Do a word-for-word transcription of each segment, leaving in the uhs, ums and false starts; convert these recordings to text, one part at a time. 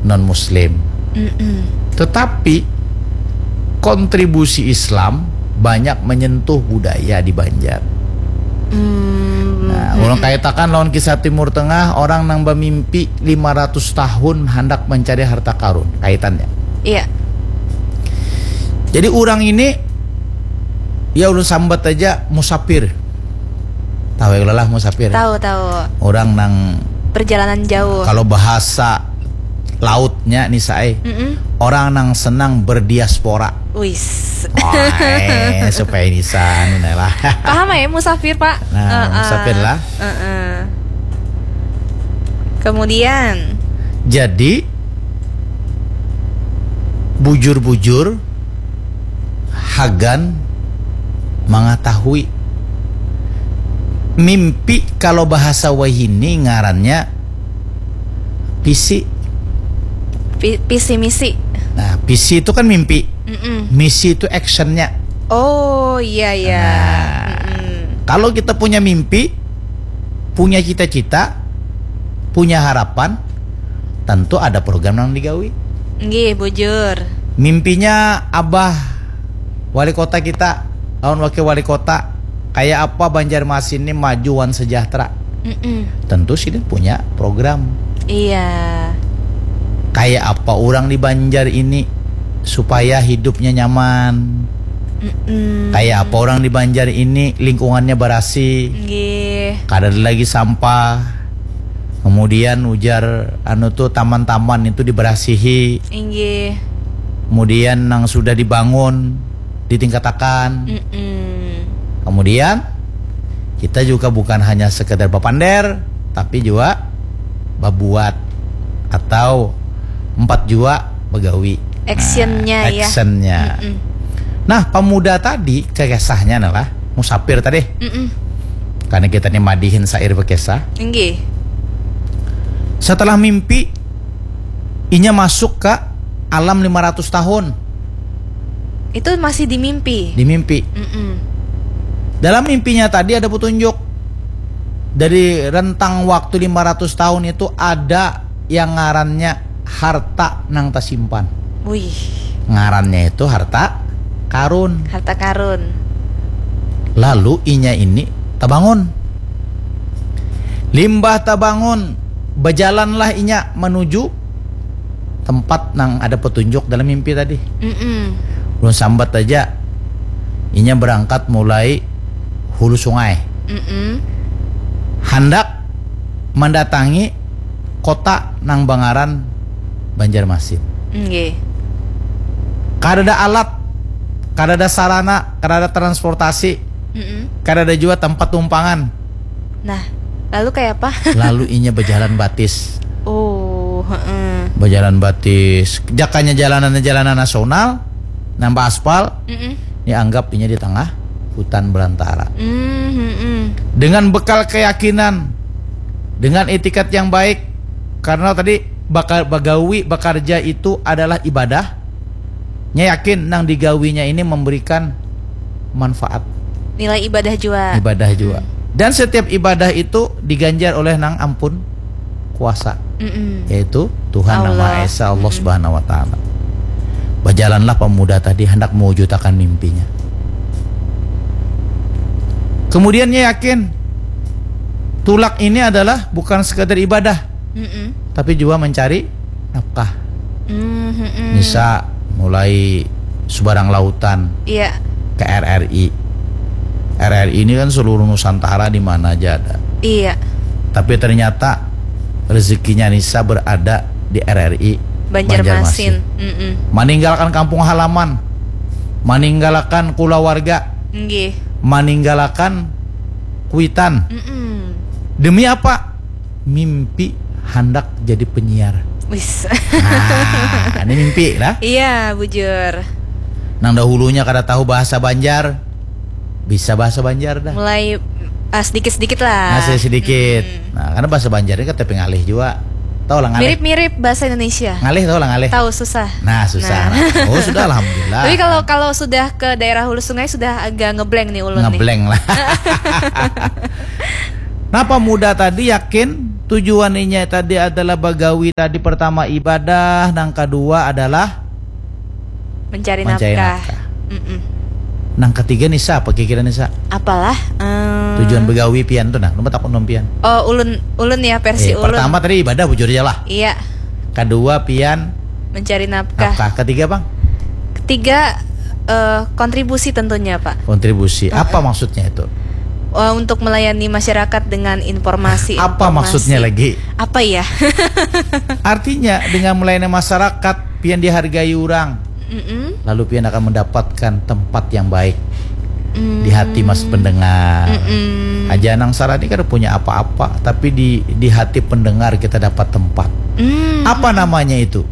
non muslim. Mm-mm. Tetapi kontribusi Islam banyak menyentuh budaya di Banjar. Mm-mm. Nah, ulun kaitakan lawan kisah Timur Tengah, orang nang bamimpi lima ratus tahun handak mencari harta karun. Kaitannya. Iya. Jadi orang ini, ya, ulun sambat aja musafir. Tahu ya lah musafir? Tahu, tahu. Orang nang perjalanan jauh. Kalau bahasa lautnya nih, saya, mm-mm, orang nang senang berdiaspora. Wis. Wah, eh, supaya ini sana lah. Paham ya musafir, Pak? Nah, uh-uh, musafir lah. Uh-uh. Kemudian, jadi bujur-bujur hagan mengetahui mimpi. Kalau bahasa wahini ngarannya visi. Visi misi. Nah, visi itu kan mimpi. Mm-mm. Misi itu actionnya. Oh iya, iya. Nah, mm-mm, kalau kita punya mimpi, punya cita-cita, punya harapan, tentu ada program yang digawi. Nggih, bujur. Mimpinya Abah Wali Kota kita, lawan Wakil Wali Kota, kayak apa Banjarmasin ini maju wan sejahtera. Mm-mm. Tentu sih punya program. Iya. Kayak apa orang di Banjar ini supaya hidupnya nyaman. Mm-mm. Kayak apa orang di Banjar ini lingkungannya berasih. Nggih. Kada ada lagi sampah. Kemudian ujar anu tuh taman-taman itu diberasihi. Inggih. Kemudian nang sudah dibangun ditingkatakan. Mm-mm. Kemudian kita juga bukan hanya sekedar bapander, tapi juga babuat atau empat jua bagawi. Actionnya, nah, ya. Actionnya. Mm-mm. Nah, pemuda tadi, kisahnya adalah musafir tadi. Mm-mm. Karena kita ini madihin syair berkisah. Inggih. Setelah mimpi, inya masuk ke alam lima ratus tahun. Itu masih di mimpi? Di mimpi. Mm-mm. Dalam mimpinya tadi ada petunjuk. Dari rentang waktu lima ratus tahun itu ada yang ngarannya harta nang tasimpan. Wih. Ngarannya itu harta karun. Harta karun. Lalu inya ini tabangun. Limbah tabangun, bajalanlah inya menuju tempat nang ada petunjuk dalam mimpi tadi. Mm-mm. Ulun sambat aja, inya berangkat mulai hulu sungai. Mm-mm. Handak mendatangi kota nang bangaran Banjarmasin. Nggih. Kadada alat, kadada sarana, kadada transportasi, mm-mm, kadada juga tempat tumpangan. Nah, lalu kayak apa? Lalu inya berjalan batis. Oh, heeh. Berjalan batis. Jakanya jalanannya jalanan nasional, nambah aspal, mm-mm, dianggap inya di tengah hutan belantara. Mm, mm-mm. Dengan bekal keyakinan, dengan etikat yang baik, karena tadi bakal bagawi, bekerja itu adalah ibadah. Nya yakin nang digawinya ini memberikan manfaat. Nilai ibadah jua. Ibadah jua. Hmm. Dan setiap ibadah itu diganjar oleh nang ampun kuasa. Mm-mm. Yaitu Tuhan Nang Maha Esa, Allah Subhanahu wa Ta'ala. Bajalanlah pemuda tadi hendak mewujudakan mimpinya. Kemudian ia yakin tulak ini adalah bukan sekadar ibadah, mm-mm, tapi juga mencari nafkah. Mm-mm. Misal mulai subarang lautan, iya, ke R R I. R R I ini kan seluruh Nusantara di mana aja ada. Iya. Tapi ternyata rezekinya Nisa berada di R R I Banjarmasin. Banjarmasin. Mm-mm. Meninggalkan kampung halaman, meninggalkan keluarga, nggih, meninggalkan kuitan. Mm-mm. Demi apa? Mimpi handak jadi penyiar. Wis. Nah, ini mimpi lah. Iya, bujur. Nang dahulunya kada tahu bahasa Banjar, bisa bahasa Banjar dah. Mulai, ah, sedikit-sedikit lah. Nah, sedikit-sedikit. Hmm. Nah, karena bahasa Banjar ini kan tapi ngalih juga. Tahu lah ngalih? Mirip-mirip bahasa Indonesia. Ngalih tahu lah ngalih? Tahu, susah. Nah, susah. Nah. Nah. Oh, sudah, alhamdulillah. Tapi kalau, kalau sudah ke daerah Hulu Sungai sudah agak ngeblank nih ulun nih. Ngeblank lah. Nah, pemuda tadi yakin Tujuan inya tadi adalah bagawi tadi, pertama ibadah, nang kadua adalah Mencari Mencari nafkah. nafkah. Mm-mm. Nang katiga ni sa, apa kira-kira ni sa? Apalah? Ehm, Tujuan begawi pian tu nah, lu takut nom pian. Oh, ulun ulun ya versi Eh, ulun. Pertama tadi ibadah bujur aja lah. Iya, Kedua pian mencari nafkah. nafkah. Ketiga bang, Ketiga, eh, kontribusi tentunya, Pak. Kontribusi. Apa maksudnya itu? Oh, untuk melayani masyarakat dengan informasi. Apa informasi. Maksudnya lagi? Apa ya? Artinya dengan melayani masyarakat, pian dihargai orang, Mm-mm. lalu pian akan mendapatkan tempat yang baik Mm. di hati mas pendengar. Mm-mm. Aja nang sarani kada punya apa-apa, tapi di di hati pendengar kita dapat tempat. Mm. Apa namanya itu?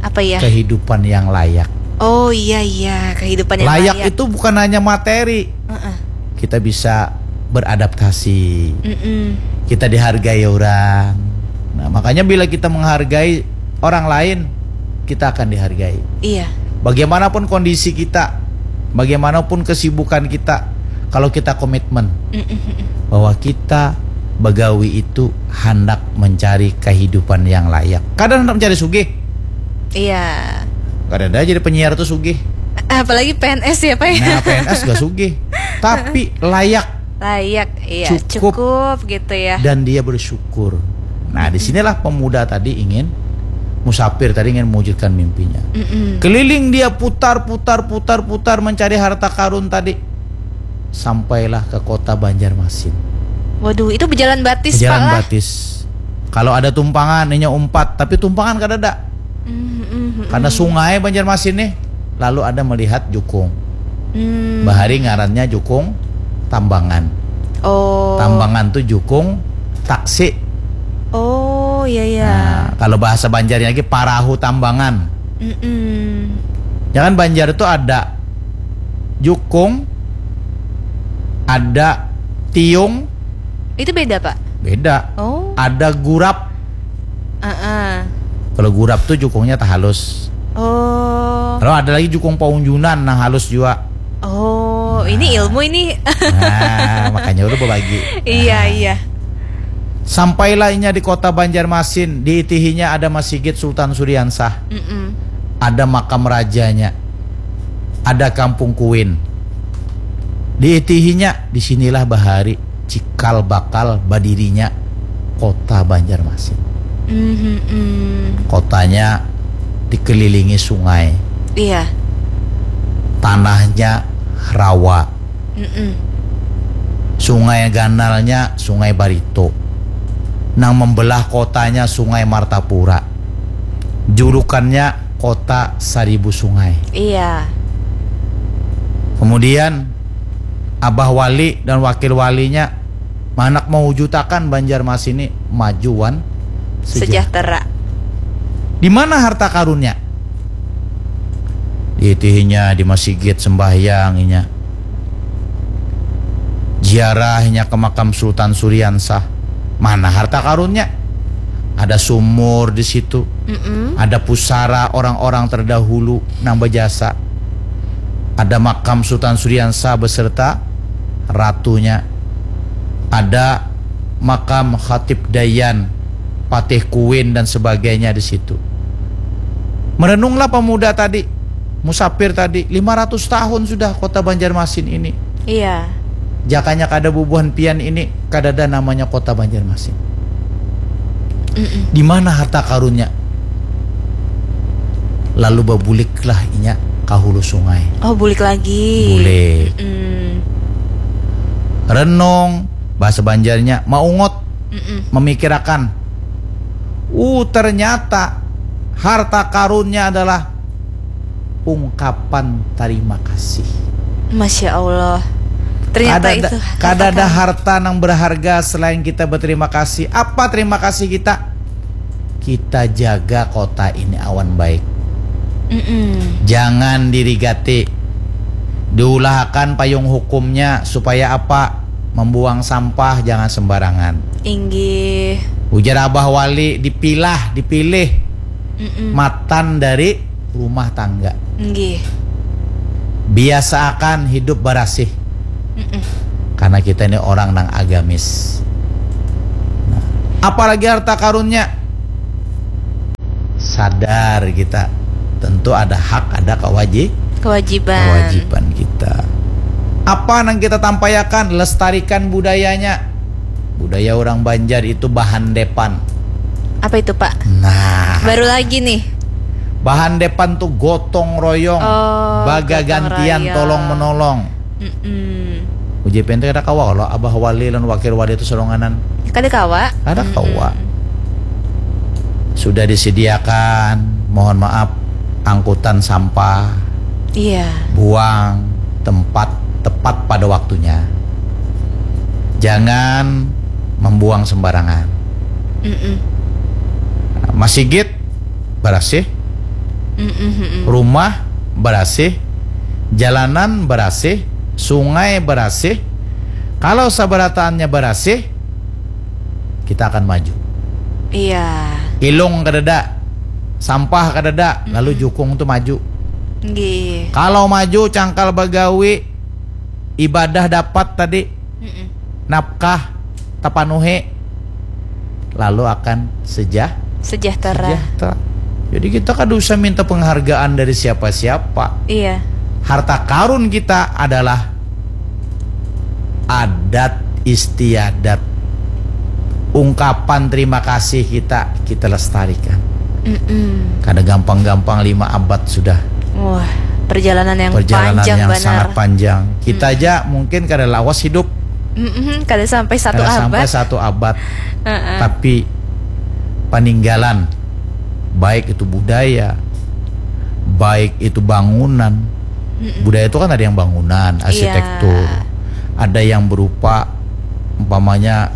Apa ya? Kehidupan yang layak. Oh iya iya, kehidupan yang Layak layak. Itu bukan hanya materi. Heeh. Kita bisa beradaptasi. Mm-mm. Kita dihargai orang. Nah, makanya bila kita menghargai orang lain, kita akan dihargai. Iya. Bagaimanapun kondisi kita, bagaimanapun kesibukan kita, kalau kita komitmen Mm-mm. bahwa kita begawi itu hendak mencari kehidupan yang layak. Kadang hendak mencari sugih. Iya. Kada ada jadi penyiar tuh sugih. Apalagi P N S ya, Pak ya? Nah, P N S gak sugih. Tapi layak Layak, iya. Cukup. Cukup gitu ya. Dan dia bersyukur. Nah, disinilah pemuda tadi ingin, musafir tadi ingin mewujudkan mimpinya. Mm-mm. Keliling dia putar, putar, putar, putar mencari harta karun tadi. Sampailah ke kota Banjarmasin. Waduh, itu berjalan batis, Pak Jalan lah. Batis. Kalau ada tumpangan, inya umpat, tapi tumpangan kada ada. Mm-mm. Karena sungai Banjarmasin nih, lalu ada melihat jukung. Mm. Bahari ngarannya jukung Tambangan. Oh. Tambangan tuh jukung taksi. Oh, iya iya. Nah, kalau bahasa Banjarnya lagi parahu Tambangan. Mm-mm. Ya kan Banjar itu ada jukung, ada tiung, Itu beda, Pak? beda. Oh. Ada gurap. Heeh. Kalau gurap tuh jukungnya tak halus. Oh. Kalau ada lagi jukung paunjunan, nah halus juga. Oh, ini ilmu ini. Nah, makanya udah berbagi. Iya, iya. Sampailah inya di kota Banjarmasin, diitihinya ada Masigit Sultan Suriansah, Mm-mm. ada makam rajanya, ada kampung Kuin. Diitihinya, disinilah bahari cikal bakal badirinya kota Banjarmasin. Mhm. Kotanya dikelilingi sungai, Iya. tanahnya rawa, Mm-mm. sungai ganalnya Sungai Barito. Nang membelah kotanya Sungai Martapura. Julukannya Kota Saribu Sungai. Iya. Kemudian Abah Wali dan Wakil Walinya manak mewujutakan Banjarmasin ini maju wan sejahtera. Sejahtera. Di mana harta karunnya? Diitihinya di masigit sembahyang inya. Ziarah inya ke makam Sultan Suriansah. Mana harta karunnya? Ada sumur di situ. Mm-mm. Ada pusara orang-orang terdahulu nang berjasa. Ada makam Sultan Suriansah beserta ratunya. Ada makam Khatib Dayan, Patih Kuin dan sebagainya di situ. Merenunglah pemuda tadi, musafir tadi, lima ratus tahun sudah kota Banjarmasin ini. Iya. Jakanya kada bubuhan pian ini, kadada namanya kota Banjarmasin. Mm-mm. Di mana harta karunnya? Lalu babuliklah inya ka hulu sungai. Oh, bulik lagi. Bulik. Mm. Renung, bahasa Banjarnya maungut, Mm-mm. memikirakan. Uh, ternyata harta karunnya adalah ungkapan terima kasih. Masya Allah. Ternyata Kada ada, itu kada ada harta harta yang berharga selain kita berterima kasih. Apa terima kasih kita? Kita jaga kota ini awan baik. Mm-mm. Jangan dirigati. Diulahakan payung hukumnya supaya apa? Membuang sampah jangan sembarangan. Inggih. Ujar Abah Wali, dipilah, dipilih Mm-mm. matan dari rumah tangga. Inggih. Biasaakan hidup barasih. Mm-mm. Karena kita ini orang nang agamis. Nah, Apalagi harta karunnya. Sadar kita, tentu ada hak, ada kewaji- Kewajiban. kewajiban kita. Apa yang kita tampayakan? Lestarikan budayanya. Budaya orang Banjar itu bahan depan. Apa itu, Pak? Nah, Baru lagi nih. Bahan depan tuh gotong royong, Oh, bagagantian, gotong royong. Tolong menolong. Mm-mm. Uji P N T kada kawa kalau abah wali dan wakil wali itu seronganan. Kada kawa. Kada Mm-mm. kawa. Sudah disediakan, mohon maaf, angkutan sampah, Iya. Buang tempat tepat pada waktunya. Jangan membuang sembarangan. Mm-mm. Masigit barasih, Mm-mm, mm-mm. Rumah barasih, jalanan barasih, sungai barasih. Kalau sabarataannya barasih, kita akan maju. Iya. Ilung kadada, sampah kadada, lalu Mm-mm. jukung tu maju. Nggih. Kalau maju, cangkal bagawi, ibadah dapat tadi, Mm-mm. nafkah tapanuhi, lalu akan sejah- Sejahtera. sejahtera. Jadi kita kada usah minta penghargaan dari siapa-siapa. Iya. Harta karun kita adalah adat istiadat, ungkapan terima kasih kita, kita lestarikan. Mm-mm. Kada gampang-gampang, lima abad sudah. Wah, perjalanan yang Perjalanan panjang yang banar. Sangat panjang. Kita Mm. aja mungkin kada lawas hidup. Mm-mm, kada sampai satu Kada abad. Sampai satu abad. Heeh. Tapi peninggalan, baik itu budaya, baik itu bangunan. Mm-mm. Budaya itu kan ada yang bangunan, Iya. Arsitektur, ada yang berupa umpamanya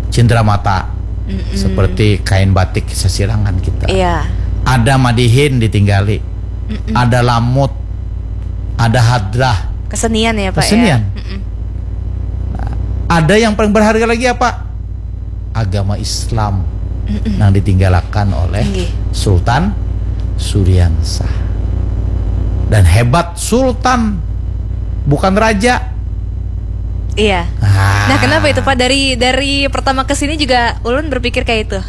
cindramata, Mm-mm. seperti kain batik sasirangan kita. Iya. Ada madihin ditinggali, Mm-mm. Ada lamut, ada hadrah. Kesenian ya, Pak, Kesenian. Ya? Mm-mm. Nah, ada yang paling berharga lagi apa? Agama Islam Mm-mm. yang ditinggalakan oleh Nggih. Sultan Suriansah. Dan hebat, Sultan, bukan raja. Iya. Ah. Nah, kenapa itu, Pak? Dari dari pertama ke sini juga ulun berpikir kayak itu.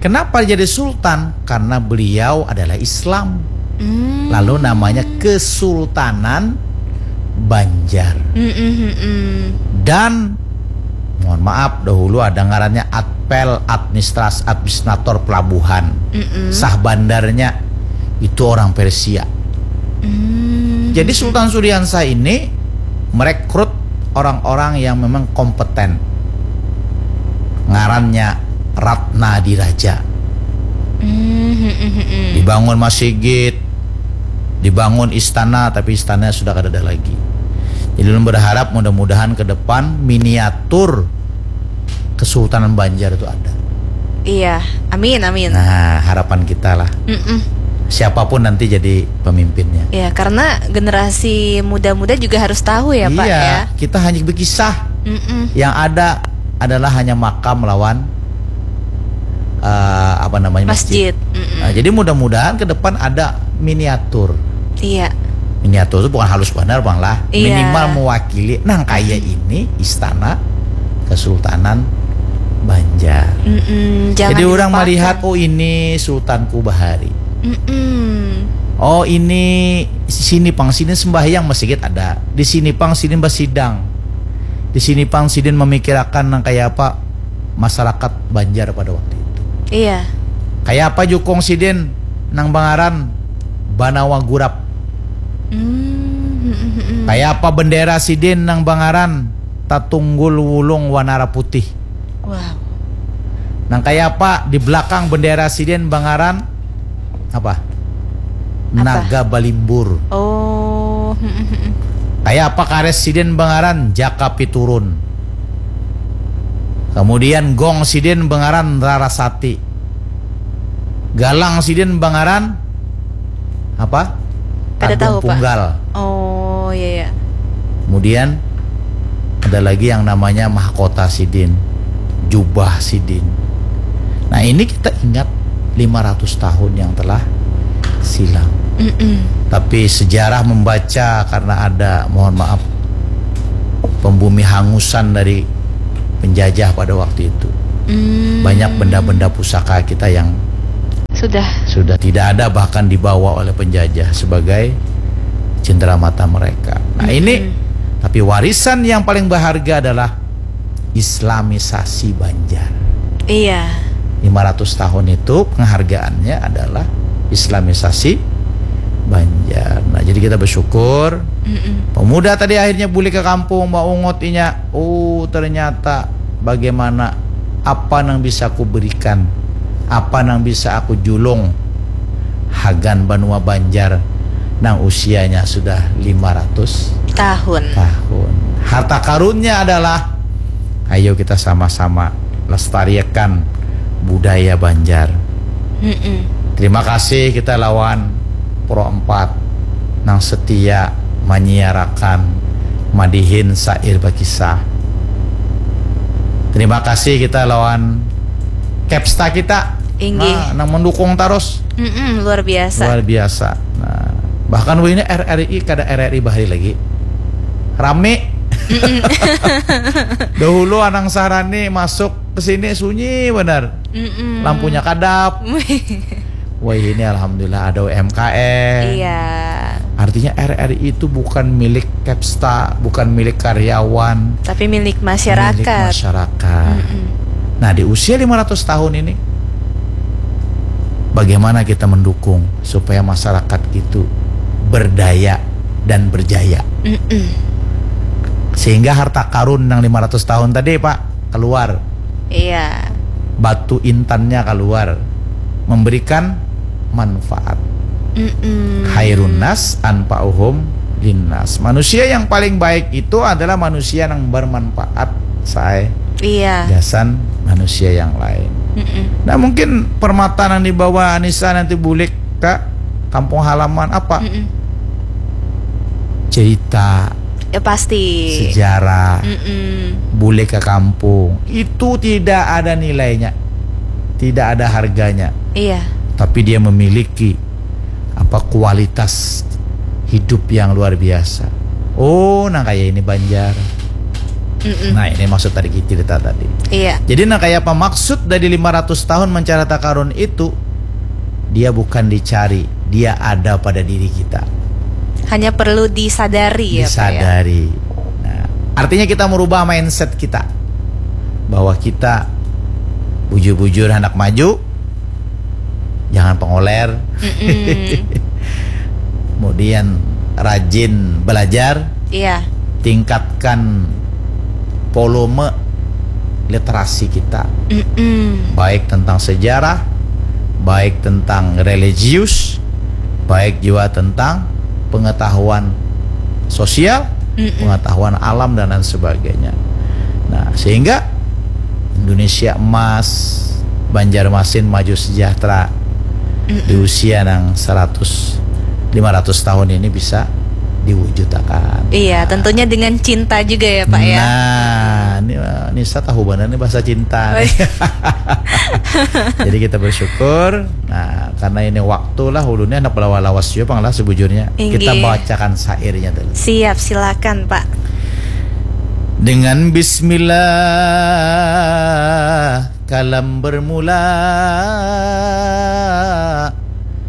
Kenapa jadi sultan? Karena beliau adalah Islam. Hmm. Lalu namanya Kesultanan Banjar. Mm-mm, mm-mm. Dan mohon maaf, dahulu ada ngarannya Atpel, administras administrator pelabuhan. Mm-mm. Sah bandarnya itu orang Persia. Hmm. Jadi Sultan Suriansah ini merekrut orang-orang yang memang kompeten. Ngarannya Ratna Diraja. Hmm, hmm, hmm, hmm. Dibangun masigit, dibangun istana, tapi istananya sudah kada ada lagi. Jadi ulun berharap mudah-mudahan ke depan miniatur Kesultanan Banjar itu ada. Iya, amin, amin. Nah, harapan kita lah. Mm-mm. Siapapun nanti jadi pemimpinnya. Ya, karena generasi muda-muda juga harus tahu ya, Pak, Iya, ya. Kita hanya berkisah. Mm-mm. Yang ada adalah hanya makam lawan eh, apa namanya, Masjid. Masjid. Mm-mm. Nah, jadi mudah-mudahan ke depan ada miniatur. Iya. Miniatur itu bukan halus benar, Bang, lah. Iya. Minimal mewakili nang kaya ini istana Kesultanan Banjar. Mm-mm, jangan Jadi orang dilupakan. Melihat, oh, ini Sultanku bahari. Mm-mm. Oh, ini sini pang sini sembahyang, masjid ada. Di sini pang sini basidang. Di sini pang sidin memikirakan nang kaya apa masyarakat Banjar pada waktu itu. Iya. Kaya apa jukung sidin nang bangaran Banawa Gurap. Mm-mm. Kaya apa bendera sidin nang bangaran Tatunggul Wulung Wanara Putih. Wow. Nang kaya apa di belakang bendera sidin bangaran apa? Apa? Naga Balimbur. Oh. Mm-mm. Kaya apa kares sidin bangaran Jaka Piturun. Kemudian gong sidin bangaran Rarasati. Galang sidin bangaran apa? Kada Agung tahu, Pak. Punggal. Oh, iya, iya. Kemudian ada lagi yang namanya mahkota sidin, jubah sidin. Nah, ini kita ingat lima ratus tahun yang telah silam. Mm-mm. Tapi sejarah membaca karena ada, mohon maaf, pembumi hangusan dari penjajah pada waktu itu. Hmm. Banyak benda-benda pusaka kita yang Sudah. sudah tidak ada, bahkan dibawa oleh penjajah sebagai cendera mata mereka. Nah, Mm-mm. ini tapi warisan yang paling berharga adalah Islamisasi Banjar. Iya. Lima ratus tahun itu penghargaannya adalah Islamisasi Banjar. Nah, jadi kita bersyukur Mm-mm. pemuda tadi akhirnya bulik ke kampung, maungut inya. Oh, ternyata bagaimana, apa nang bisa aku berikan, apa nang bisa aku julung hagan banua Banjar nang usianya sudah lima ratus Tahun. tahun. Harta karunnya adalah, ayo kita sama-sama lestarikan budaya Banjar. Mm-mm. Terima kasih kita lawan Pro empat nang setia menyiarakan madihin syair bakisah. Terima kasih kita lawan Kepsta kita. Inggih. Nah, nang mendukung terus. Mm-mm, luar biasa. Luar biasa. Nah, bahkan wahini R R I kada R R I bahari lagi. Rame. Dahulu Anang Sahrani masuk ke sini sunyi benar. Mm-mm. Lampunya kadap. Wah, ini alhamdulillah ada U M K M. Iya. Artinya R R I itu bukan milik Kepsta, bukan milik karyawan, Tapi milik masyarakat. Milik masyarakat. Mm-mm. Nah, di usia lima ratus tahun ini, bagaimana kita mendukung supaya masyarakat itu berdaya dan berjaya? Mm-mm. Sehingga harta karun yang lima ratus tahun tadi, Pak, keluar. Iya. Batu intannya keluar. Memberikan manfaat. Mm-mm. Khairun nas anfa'uhum linnas. Manusia yang paling baik itu adalah manusia yang bermanfaat, saya. Iya. Gasan manusia yang lain. Mm-mm. Nah, mungkin permata nang dibawa Anissa nanti bulik ke kampung halaman apa? Mm-mm. Cerita, Ya pasti. sejarah, Mm-mm. bulik ke kampung. Itu tidak ada nilainya. Tidak ada harganya. Iya. Tapi dia memiliki apa, kualitas hidup yang luar biasa. Oh, nah kayak ini Banjar. Mm-mm. Nah, ini maksud tadi cerita tadi. Iya. Jadi, nah, kayak apa maksud dari lima ratus tahun mencari harta karun itu? Dia bukan dicari, dia ada pada diri kita. Hanya perlu disadari ya, Pak, ya? Disadari. Nah, artinya kita merubah mindset kita bahwa kita bujur-bujur hendak maju, jangan pengoler. Mm-mm. Kemudian rajin belajar, Iya. tingkatkan volume literasi kita, Mm-mm. baik tentang sejarah, baik tentang religius, baik juga tentang pengetahuan sosial, Mm-mm. pengetahuan alam dan lain sebagainya. Nah, sehingga Indonesia emas, Banjarmasin maju sejahtera di Mm-mm. usia nang seratus, lima ratus tahun ini bisa diwujudkan. Iya, tentunya dengan cinta juga ya, Pak, ya. Nah, ini, eh, Nisa tahu benar nih bahasa cinta. Oh, Nih. Iya. Jadi kita bersyukur. Nah, karena ini waktu lah, ulunnya anak belawa lawas juga pang lah sebujurnya. Inggih. Kita bacakan syairnya dulu. Siap, silakan, Pak. Dengan bismillah kalam bermula.